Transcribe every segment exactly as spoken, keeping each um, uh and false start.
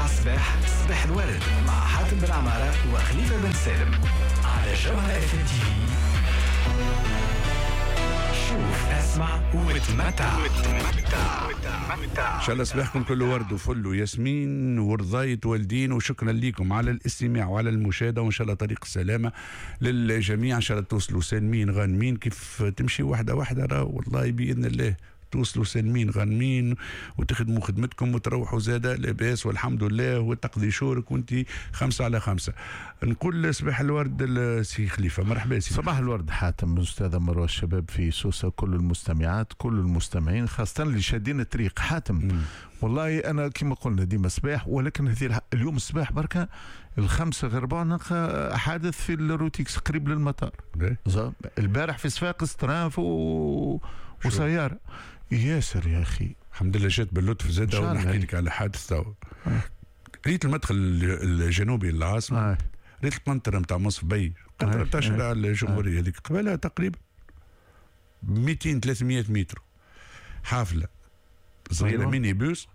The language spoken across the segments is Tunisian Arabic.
الصباح، صباح الورد مع حاتم بن عمارة وخليفة بن سالم على جوهرة اف ام تي في. شوف، اسمع وتمتع. ان شاء الله صباحكم كله ورد وفل وياسمين ورضاية والدين، وشكرا لكم على الاستماع وعلى المشاهدة، وان شاء الله طريق السلامة للجميع. ان شاء الله توصلوا سالمين غانمين. كيف تمشي واحدة واحدة راه والله بإذن الله توصلوا سالمين غانمين وتخدموا خدمتكم وتروحوا زادة لاباس والحمد لله، وتقضي شورك وانت خمسة على خمسة. نقول صباح الورد سي خليفة، مرحبا سي. صباح الورد حاتم، أستاذة مروة، الشباب في سوسة، كل المستمعات، كل المستمعين، خاصة اللي شادين الطريق. حاتم مم. والله أنا كما قلنا ديما صباح، ولكن هذه اليوم الصباح بركة الخمسة غير ربع نلقى حادث في ال route X قريب للمطار. البارح في صفاقس train و... وسيارة ياسر يا أخي. الحمد لله جات باللطف زاد. ونحكي لك على حادث تو. ريت المدخل الجنوبي للعاصمة، آه. ريت القنطرة نتاع منصف بي، القنطرة نتاع شارع الجمهورية هذيك قبلها تقريبا مئتين ثلاثمية متر، حافلة صغيرة أيوة. ميني بوس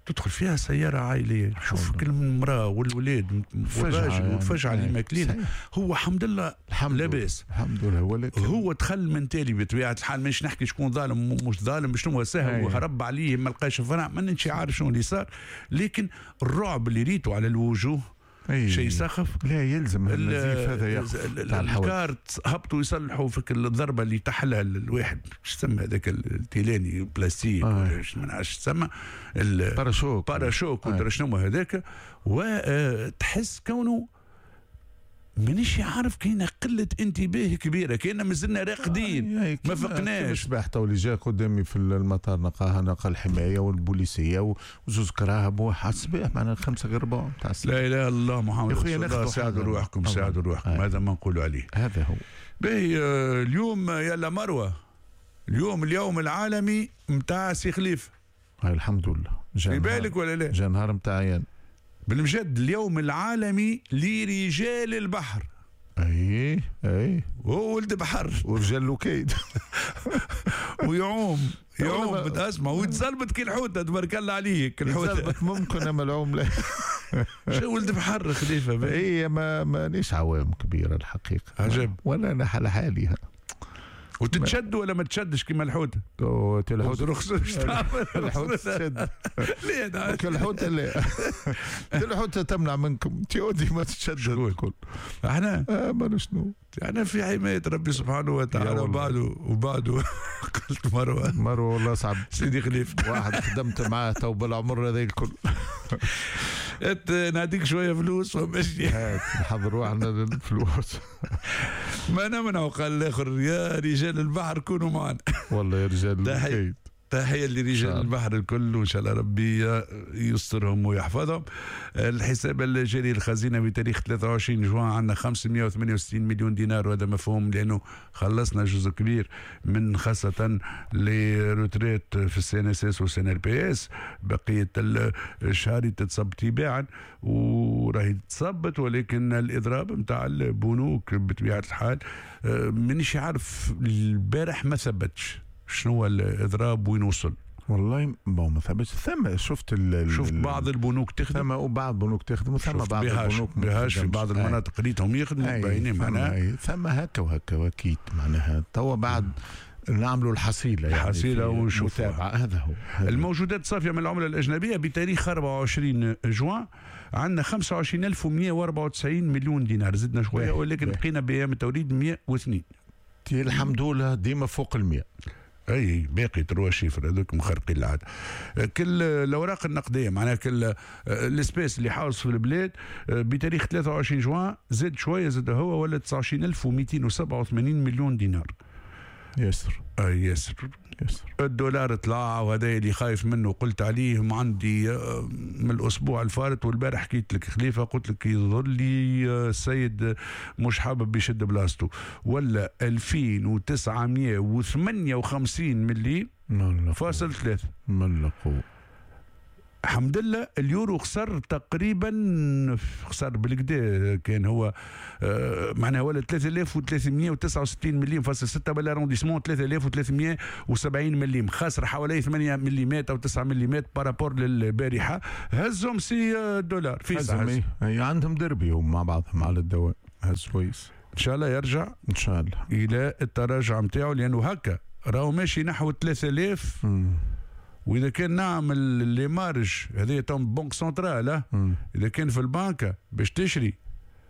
تدخل فيها سيارة عائلية. شوف كل المرأة والولاد والراجل والفجعة اللي ماكلينها. هو الحمد لله الحمد لاباس الحمد لله، ولكن هو دخل من تالي بطبيعة الحال. مش نحكي شكون ظالم مش ظالم، شنو هو سهل وهرب عليه ما لقاش فرع، ما نش عارف شنو اللي صار، لكن الرعب اللي ريته على الوجوه شيء سخف. لا يلزم النزيف هذا يقف. الكارت هبطوا يصلحوا في الضربة اللي تحلها الواحد، شو تسمى هذاك التيلاني بلاستيك آه. ولا ما نعرفش تسمى pare-chocs pare-chocs آه. ولا شنو هذاك، وتحس كونه مانيش عارف كاينه قلة انتباه كبيرة، كاينه مازلنا راقدين آه ما فقناش. الصباح تو اللي جا قدامي في المطار نلقاها، نلقى الحماية والبوليسيه وزوز كراهب وواحد الصباح معناها خمسة غير ربع تاع الصباح. لا اله الا الله محمد رسول الله. ساعدوا روحكم، ساعدوا روحكم، هذا ما نقولوا عليه. هذا هو. باهي اليوم يلا مروه، اليوم اليوم العالمي نتاع سي خليفة. الحمد لله. في بالك ولا لا؟ جا نهار نتاع بالمجد اليوم العالمي لرجال البحر. اي اي وهو ولد بحر ورجال لوكيد ويعوم يعوم بتسمع ويتزلبط كي الحوته، تبارك الله عليك الحوته ممكن اما العوم لا. شو ولد بحر خليفة؟ اي ما مانيش عوام كبيرة الحقيقة. عجب. ولا انا على حالي. وتتشد ولا ما تشدش كيما الحوته؟ الحوت رخص الحوت تشد. ليه؟ الحوته لا، الحوته تمنع منكم تيودي ما تشد الكل. احنا اه ما شنو احنا في حماية ربي سبحانه وتعالى. وبعده وبعده قلت مروه مروه والله صعب سيدي خليفة واحد خدمت معاه تو بالعمر هذا الكل. نعطيك شوية فلوس ومشي. نحضر روحنا للفلوس. ما نمنعوا. قال الاخر يا رجال البحر كونوا معنا. والله يا رجال الكيد. تحية لرجال البحر الكل، وإن شاء الله ربي يسترهم ويحفظهم. الحساب الجاري الخزينة بتاريخ ثلاثة وعشرين جوان عندنا خمسمية وثمانية وستين مليون دينار، وهذا مفهوم لأنه خلصنا جزء كبير من خاصة les retraites في ال CNSS وال CNLPS. بقية الشهر تتصب تباعا وراهي تصبت، ولكن الإضراب نتاع البنوك بطبيعة الحال مانيش عارف البارح ما ثبتش شنو هو الاضراب وين وصل. والله bon ما ثبتش. ثم شفت ال شفت بعض البنوك تخدم، ثم وبعض البنوك تخدم، وثم بعض البنوك بهاش في بعض المناطق ريتهم يخدموا باينين معناها. ثم هكا وهكا واكيد معناها توا بعد نعملوا الحصيلة يعني الحصيلة ونشوف هذا هو. الموجودات الصافية من العملة الاجنبية بتاريخ أربعة وعشرين جوان عندنا خمسة وعشرين ألف ومية وأربعة وتسعين مليون دينار، زدنا شوية ولكن بقينا بايام التوريد مية واثنين. الحمد لله ديما فوق المية. اي باقي trois chiffres هذوك مخرقين العادة. كل الاوراق النقدية معناها كل l'espèce اللي حاوص في البلاد بتاريخ ثلاثة وعشرين جوان زاد شوية، زاد هو ولا تسعة وعشرين ألف ومئتين وسبعة وثمانين مليون دينار. ياسر اي ياسر ياسر. الدولار طلع، وهذا اللي خايف منه قلت عليه عندي من الاسبوع الفارط، والبارح حكيت لك خليفة قلت لك يظهر لي السيد مش حابب يشد بلاصته، ولا ألفين وتسعمية وثمانية وخمسين ملي فاصل ثلاثة. من قوة. الحمد لله اليورو خسر تقريبا، خسر بالكدا كان هو آه معناها ولا ثلاثة آلاف وثلاثمئة وتسعة وستين مليم فاصل ستة بال arrondissement ثلاثة آلاف وثلاثمئة وسبعين مليم، خسر حوالي ثمانية مليمات او تسعة مليمات par rapport للبارحه. هزهم سي الدولار في ساعة، عندهم دربي هم مع بعضهم على الدوام. هز كويس ان شاء الله يرجع ان شاء الله الى التراجع نتاعو، لانه هكا راهو ماشي نحو ثلاثة آلاف. واذا كان نعمل les marges هذه تم banque centrale، اذا كان في البنكه باش تشري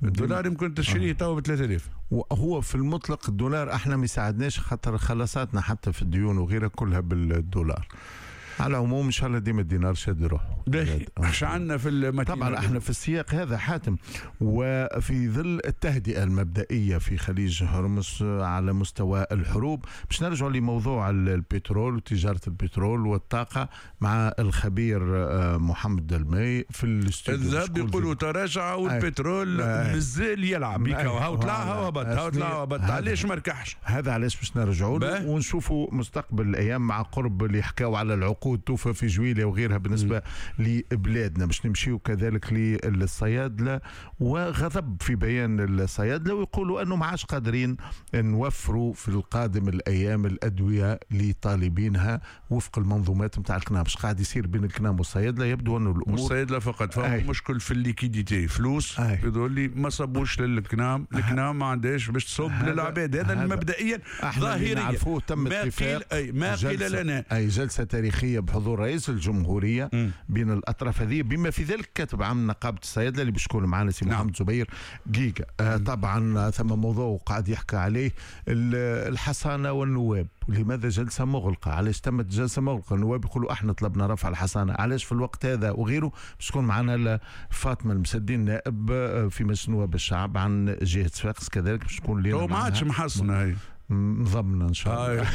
الدولار يمكن تشريه تو ب ثلاثة آلاف. وهو في المطلق الدولار احنا ما يساعدناش، خاطر خلصاتنا حتى في الديون وغيرها كلها بالدولار. على العموم ان شاء الله ديما الدينار شاد روحه. اش عندنا في المتين؟ طبعا احنا في السياق هذا حاتم، وفي ظل التهدئه المبدئية في خليج هرمز على مستوى الحروب، باش نرجع لموضوع البترول وتجارة البترول والطاقة مع الخبير محمد المي في الاستوديو. الذهب يقولوا تراجع والبترول مازال يلعب، هاو طلع هاو هبط، هاو طلع هبط، علاش ما ركحش؟ هذا علاش باش نرجعوا له ونشوفوا مستقبل الايام مع قرب اللي حكاوا على العقود توفى في جويلة وغيرها بالنسبة لبلادنا. باش نمشيو كذلك للصيادلة، وغضب في بيان الصيادلة ويقولوا أنه ما عادش قادرين نوفروا في القادم الأيام الأدوية لطالبينها وفق المنظومات نتاع الكنام. باش قاعد يصير بين الكنام والصيادلة يبدو أنه الأمور والصيادلة فقط فما مشكل في ال liquidité، فلوس يقول لي ما صبوش للكنام، الكنام ما عندهاش باش تصب للعباد. هذا مبدئيا ظاهريا تم اتفاق، أي ما قيل لنا أي جلسة تاريخية بحضور رئيس الجمهورية م. بين الأطراف هذه، بما في ذلك كاتب عام نقابة الصيادلة اللي باش يكون معنا سي محمد زبير جيجا. آه طبعا ثم موضوع قاعد يحكى عليه الحصانة والنواب، لماذا جلسة مغلقة؟ علاش تمت جلسة مغلقة؟ النواب يقولوا احنا طلبنا رفع الحصانة، علاش في الوقت هذا وغيره. باش تكون معنا فاطمة المسدين نائب في مجلس نواب الشعب عن جهة صفاقس، كذلك باش تكون لنا ما عادش محصنة هي مضمنة ان شاء الله.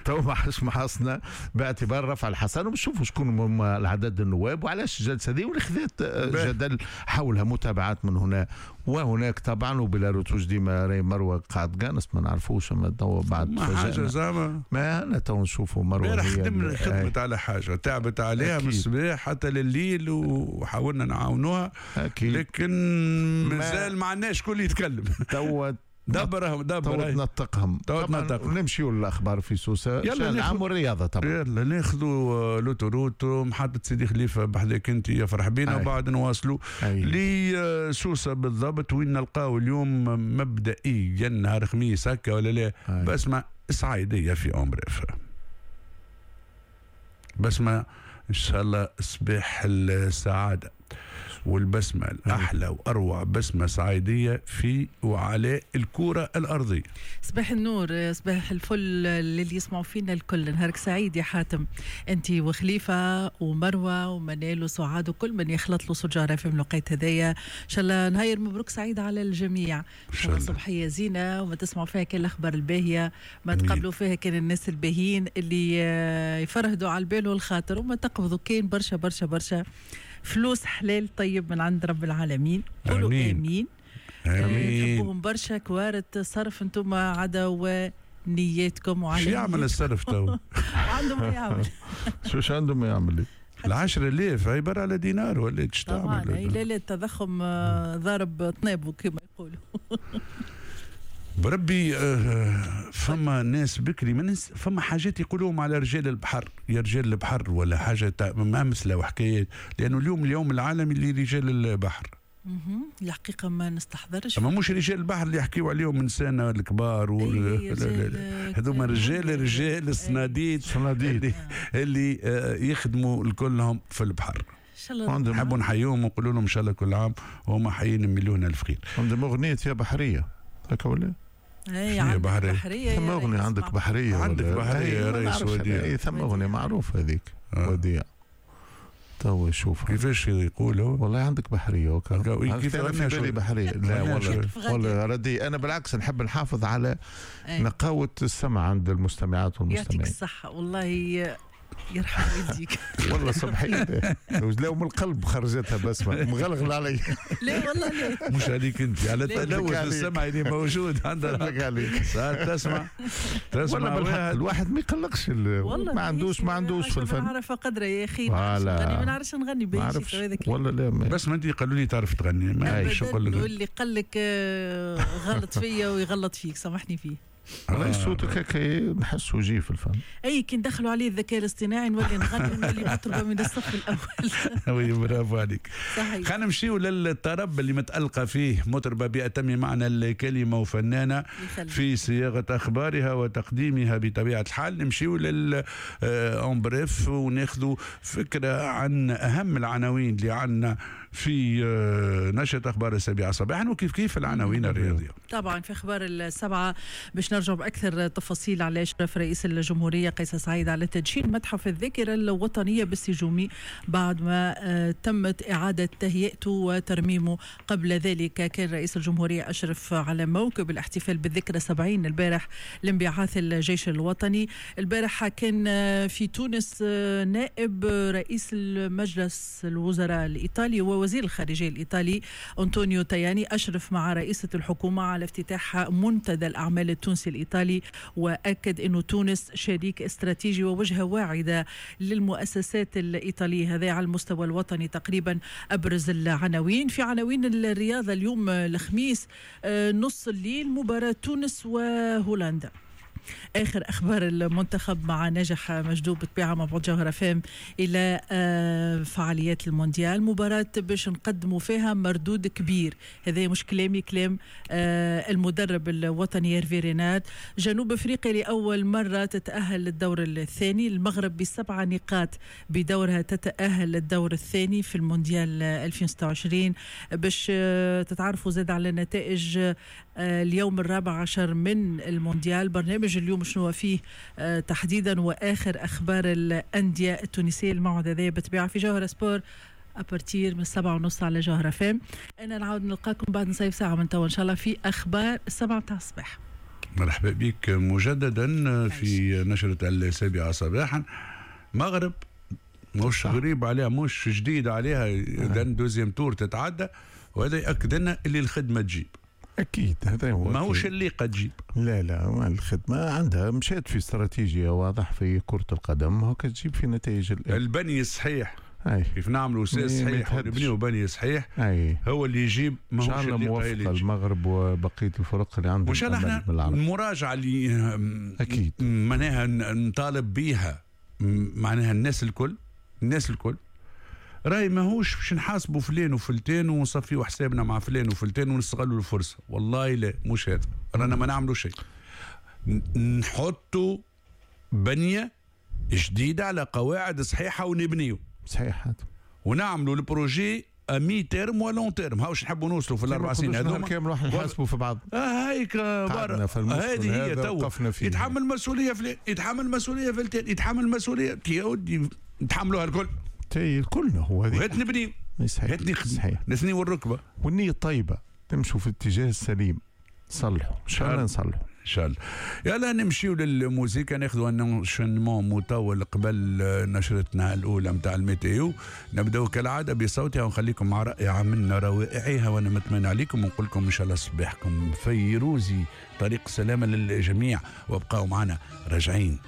تو ما حش محصنة باعتبار رفع الحصانة، ونشوفوا شكون هم العدد النواب وعلاش الجلسة دي واللي خذت جدل حولها متابعات من هنا وهناك طبعا. وبلا رتوش ديما راي مروه قاعد قانص ما نعرفوش، اما تو بعد ما حاجة زعما ما انا تو نشوفوا مروه خدمت خدمت على حاجة تعبت عليها من الصباح حتى لليل وحاولنا نعاونوها، لكن مازال ما عندناش شكون يتكلم. تو دبرهم دبر تنطقهم تو تنطقهم. نمشيو للاخبار في سوسة يلا العام والرياضة طبعا. يلا ناخذوا l'autoroute محطة سيدي خليفة بحذاك انت يفرح بينا، وبعد نواصلوا لسوسه بالضبط وين نلقاو اليوم مبدئيا نهار خميس هكا ولا لا؟ بسمه سعيديه في en bref. بسمه ان شاء الله صباح السعادة والبسمة الأحلى وأروع بسمة سعيدية في وعلى الكرة الأرضية. صباح النور، صباح الفل للي يسمعوا فينا الكل. نهارك سعيد يا حاتم، أنت وخليفة ومروة ومنال وسعاد وكل من يخلط له سجارة في الوقت هذايا. إن شاء الله نهار مبروك سعيد على الجميع، إن شاء الله صبحية زينة وما تسمعوا فيها كان الأخبار الباهية، ما تقابلوا فيها كان الناس الباهيين اللي يفرهدوا على البال والخاطر، وما تقبضوا كان برشا برشا برشا فلوس حلال طيب من عند رب العالمين. قولوا امين. امين. تحبوهم برشا كوارت صرف انتم عدا ونياتكم وعلى شو يعمل الصرف تو؟ عنده ما يعمل. شو شو عنده ما يعمل؟ العشرة آلاف عبارة على دينار ولا ايش تعمل؟ طبعا لا لا التضخم ضارب طنابه كما يقولوا. بربي فما ناس بكري من فما حاجات يقولوهم على رجال البحر، يا رجال البحر ولا حاجة امثلة وحكايات، لانه اليوم اليوم العالمي لرجال البحر. الحقيقة ما نستحضرش. اما مش رجال البحر اللي يحكيوا عليهم انسان الكبار هذوما رجال رجال الصناديد الصناديد اللي, اللي يخدموا كلهم في البحر. نحبوا نحييهم ونقولوا لهم ان شاء الله كل عام وهم حيين مليون الف خير. عندهم اغنية يا بحرية هكا ولا؟ اي عندك بحرية, بحرية ثم اغنية عندك بحرية عندك بحرية يا ريس وديع. اي ثم اغنية معروفة هذيك آه. وديع تو شوفها كيفاش يقولوا والله عندك بحرية وكا كيف انا في بالي بحرية. لا والله والله ردي انا بالعكس نحب نحافظ على أي. نقاوه السمع عند المستمعات والمستمعين. يعطيك الصحة والله. يرحم والديك. والله صبحية لا من القلب خرجتها بسمة مغلغل علي. لا والله لا مش عليك انت، على التلوث السمعي اللي موجود عندنا. عليك ساعات تسمع تسمع والله الواحد ما يقلقش، ما عندوش ما عندوش في الفن. ما نعرف قدره يا اخي، ما نعرفش نغني باهي والله. لا بس ما انت قالوا لي تعرف تغني، ما نعرفش نقول لك. واللي قال لك غلط فيا ويغلط فيك، سامحني فيه. والله صوتك هكا نحسه يجي في الفن. اي كي ندخلوا عليه الذكاء الاصطناعي نولي نغني، نولي مطربه من الصف الاول. oui برافو عليك. صحيح. خلينا نمشيو للطرب اللي متألقه فيه مطربه بأتم معنى الكلمة وفنانه في صياغة اخبارها وتقديمها بطبيعة الحال. نمشيو لل en bref وناخذوا فكرة عن اهم العناوين اللي عندنا في نشرة اخبار السابعة صباحا، وكيف كيف العناوين الرياضية. طبعا في اخبار السبعة باش نرجع بأكثر تفاصيل على إشراف رئيس الجمهورية قيس سعيد على تدشين متحف الذاكرة الوطنية بالسجومي بعد ما تمت إعادة تهيئته وترميمه. قبل ذلك كان رئيس الجمهورية أشرف على موكب الاحتفال بالذكرى سبعين البارح لانبعاث الجيش الوطني. البارح كان في تونس نائب رئيس المجلس الوزراء الإيطالي ووزير الخارجية الإيطالي أنطونيو تاياني، أشرف مع رئيسة الحكومة على افتتاح منتدى الأعمال التونسي الإيطالي، وأكد أن تونس شريك استراتيجي ووجهة واعدة للمؤسسات الإيطالية. هذا على المستوى الوطني تقريبا أبرز العناوين. في عناوين الرياضة اليوم الخميس نص الليل مباراة تونس وهولندا. آخر أخبار المنتخب مع ناجح مجدوب بطبيعة مع بعض جوهرة فام إلى فعاليات المونديال، مباراة باش نقدموا فيها مردود كبير. هذا مش كلامي، كلام المدرب الوطني هيرفي ريناد. جنوب أفريقيا لأول مرة تتأهل للدور الثاني، المغرب بسبعة نقاط بدورها تتأهل للدور الثاني في المونديال ألفين وستة وعشرين. باش تتعرفوا زاد على نتائج اليوم الرابع عشر من المونديال، برنامج اليوم شنو فيه تحديدا، واخر اخبار الاندية التونسية. الموعد هذا بتبيع في جوهرة سبور à partir من السبعة ونص على جوهرة فام. انا نعاود نلقاكم بعد نصف ساعة من توا ان شاء الله في اخبار السبعة متاع الصباح. مرحبا بك مجددا في نشره السابعة صباحا. مغرب مش غريب عليها، مش جديد عليها، اذا deuxième tour تتعدى، وهذا ياكد لنا اللي الخدمة تجيب. أكيد هذا هو، ماهوش اللي قد تجيب. لا لا، الخدمة عندها مشات في استراتيجية واضح في كرة القدم، هو كتجيب في نتائج البني الصحيح. أي. كيف نعملوا ساس صحيح ونبنيو بني صحيح. أي. هو اللي يجيب، ماهوش اللي موافق المغرب وبقية الفرق اللي عندهم. وإن شاء الله احنا المراجعة اللي أكيد معناها نطالب بيها، معناها الناس الكل، الناس الكل راي ماهوش باش نحاسبوا فلان وفلتان ونصفيوا حسابنا مع فلان وفلتان ونستغلوا الفرصة. والله لا، مش هذا، رانا ما نعملوا شيء. نحطوا بنيه جديدة على قواعد صحيحه ونبنيو صحيح، ونعملوا ال projet à mi-terme و long terme. هاوش نحبوا نوصلوا في الاربع سنين هذوما كامل راح نحاسبوا في بعض. اه هيك هذه هي تو يتحمل مسؤولية فلان، يتحمل مسؤولية فلتان، يتحمل مسؤولية يا ودي، نتحملوها الكل. تي الكل هو هذه. هات نبني، صحيح صحيح، نثني الركبة والنية الطيبة، تمشوا في الاتجاه السليم، صلحوا ان شاء الله، نصلحوا ان شاء الله. يلا نمشيو للموسيقى، ناخذوا un enchaînement مطول قبل نشرتنا الاولى نتاع ال météo. نبداو كالعادة بصوتها ونخليكم مع رائعة من روائعها، وانا متمنى عليكم ونقول لكم ان شاء الله صباحكم فيروزي، طريق السلامة للجميع، وابقاو معنا راجعين.